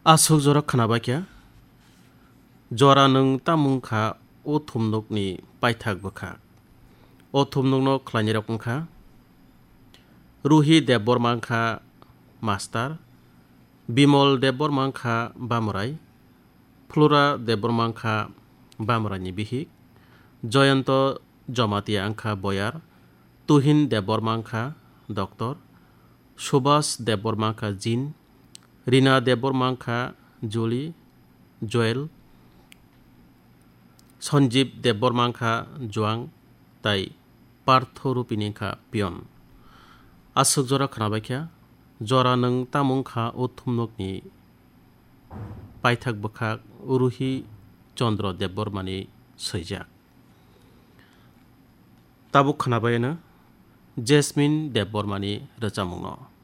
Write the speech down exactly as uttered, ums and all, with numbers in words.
Aswk jora khwnabaikha, jora nwng tamung kha o thumnukni paithak bwkha. O thumnukno khlainirok wngkha, Ruhi Debbarma wngkha master, Bimol Debbarma wngkha bamurai, Flora Debbarma wngkha bamuraini bihik, Joyonto Jomatia wngkha boyar, Tuhin Debbarma wngkha doctor, Subhas Debbarma wngkha jin, Rina Debbarma wngkha Juli, Joel, Sanjeev Debbarma wngkha juang, tai Partho Rupini wngkha peon. Aswk jora khwnabaikha, jora nwng tamung kha o thumnukni paithak bwkhak Ruhi Chandra Debbarmani swijak. Tabuk khwnabaino Jasmine Debbarmani rwchapmungno.